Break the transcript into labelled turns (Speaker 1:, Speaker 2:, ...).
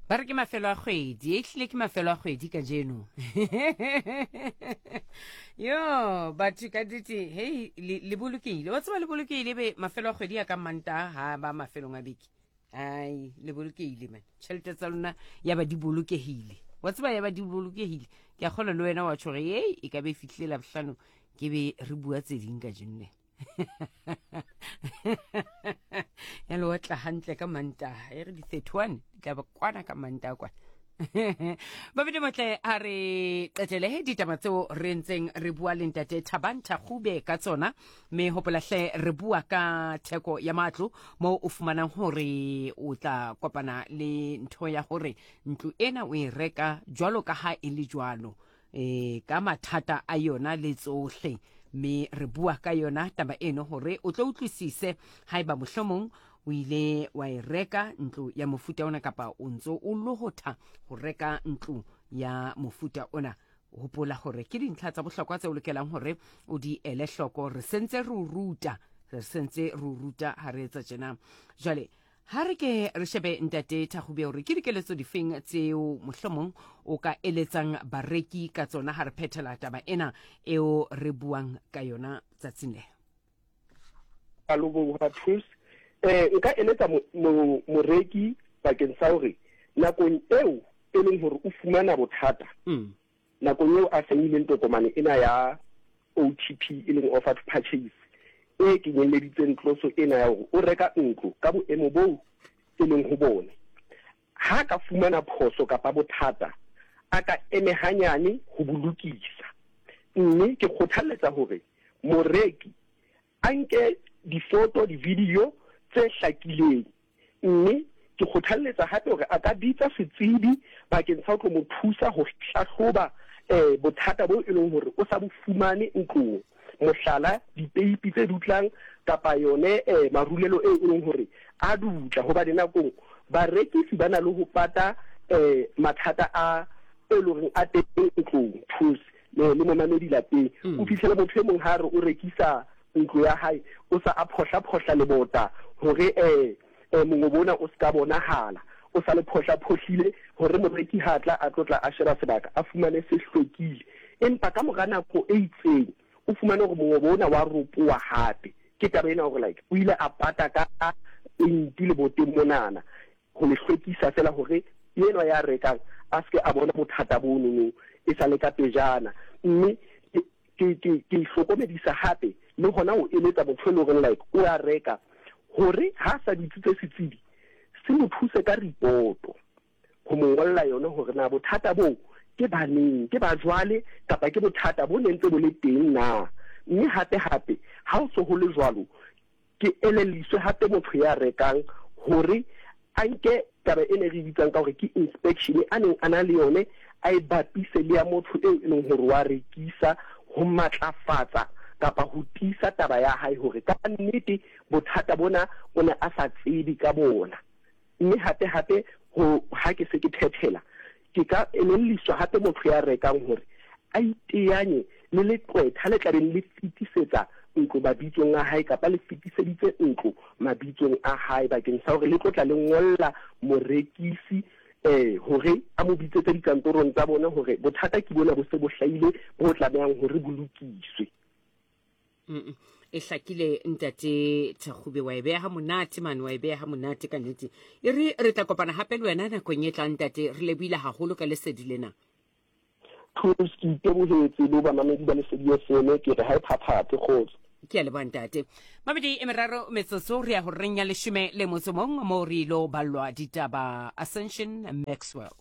Speaker 1: Ba re ke mafelo a kgwedi, e hlile ke mafelo a kgwedi kajeno. Yo, batho ka nnete, hei, le, le bolokehile. Wa tseba le bolokehile be mafelo a kgwedi a ka Mantaha ha ba mafelong a beke. Ai, le bolokehile man. Tšhelete tsa lona ya ba di bolokehile. Wa tseba ya ba di bolokehile. Ke a kgolwa le wena wa tjho gore, hei, e ka be e fihlile Labohlano ke be re bua tse ding kajeno le. ya le otla hantle ka Mantaha e re di-31 di tla ba kwana ka Mantaha kwana. Babedi motle, a re qetele ditaba tseo re ntseng re bua le ntate Thabang Thakgube ka tsona, mme hopolahle re bua ka theko ya matlo moo o fumanang hore o tla kopana le ntho ya hore ntlo ena o e reka jwalo ka ha e le jwalo, e ka mathata a yona le tsohle. Mme re bua ka yona taba eno hore o tlo utlwisise haeba mohlomong o ile wa e reka ntlo ya mofuta ona kapa o ntso o lohotha ho reka ntlo ya mofuta ona. Hopola hore ke dintlha tsa bohlokwa tse o lokelang hore o di ele hloko. Re sentse re o ruta, re sentse re o ruta ha re etsa tjena. Jwale Ha re ke re shebe ntate Thakgube hore ke dikeletso difeng tseo mohlomong o ka eletsang bareki ka tsona ha re phethela taba ena eo re buang ka yona tsatsing le.
Speaker 2: Leboha Truth. Eh nka eletsa moreki bakeng sa hore nakong eo e leng hore o fumana bothata, nakong eo a saenileng tokomane ena ya OTP, e leng offer to purchase, e kenyelleditseng tloso ena ya hore o reka ntlo ka boemo boo e leng ho bone, ha a ka fumana phoso kapa bothata, a ka eme hanyane ho bo lokisa. Mme ke kgothalletsa hore moreki a nke difoto, di-video tse hlakileng. Mme ke kgothalletsa hape hore a ka bitsa setsebi bakeng sa ho tlo mo thusa ho hlahloba bothata boo e leng hore o sa bo fumane ntlong. Mohlala, dipeipi tse dutlang kapa yone marulelo eo e leng hore a dutla. Hobane nakong barekisi ba na le ho pata mathata a e leng hore a teng ntlong, thusi le momamedi lapeng. O fihlele motho e mong ha a re o rekisa ntlo ya hae, o sa a phohla-phohla lebota hore mongobo ona o se ka bonahala. O sa le phohla-phohlile hore moreki ha a tla a tlo tla a sheba sebaka, a fumane se hlwekile. Empa ka mora nako e itseng, o fumane hore mongobo ona wa ropoha hape. Ke taba ena hore like o ile a pata ka peinti leboteng monana ho le hlwekisa feela hore enwa ya rekang a se ke a bona bothata bonono e sa le ka pejana. Mme ke, ke, ke hlokomedisa hape le hona ho eletsa motho e leng horeng like o a reka hore ha a sa bitsitse setsebi se mo thuse ka ripoto ho mo ngolla yone hore na bothata boo ke ba neng, ke ba jwale kapa ke bothata bo ne ntse bo le teng na. Mme hape hape ha ho se ho le jwalo, Ke elelliswe hape motho ya rekang hore a nke taba ena e re e bitsang ka hore ke inspection a neng a na le yone, a e bapise le ya motho eo e leng hore wa rekisa ho matlafatsa kapa ho tiisa taba ya hae hore ka nnete bothata bona o ne a sa tsebe ka bona. Mme hape hape ho ha ke se ke phethela, ke ka elelliswa hape motho ya rekang hore a iteanye le leqwetha le tla beng le fetisetsa ntlo mabitsong a hae kapa le fetiseditse ntlo mabitsong a hae bakeng sa hore le tlo tla le ngolla morekisi hore a mo bitsetse dikantorong tsa bona hore bothata ke bona bo se bo hlahile bo tlamehang hore bo lokiswe.
Speaker 1: E hlakile ntate Thakgube, wa e beha ha monate mane, wa e beha ha monate ka nnete. E re re tla kopana hape le wena nakong e tlang ntate, re lebohile haholo ka lesedi lena.
Speaker 2: Thuso, ke itebohetse le ho bamamedi ba Lesedi FM, ke re ha e phaphathe, kgotso.
Speaker 1: Ke a leboha ntate. Mabedi e meraro metsotso re ya horeng ya leshome le motso mong moo re ilo ballwa ditaba Ascension Maxwell.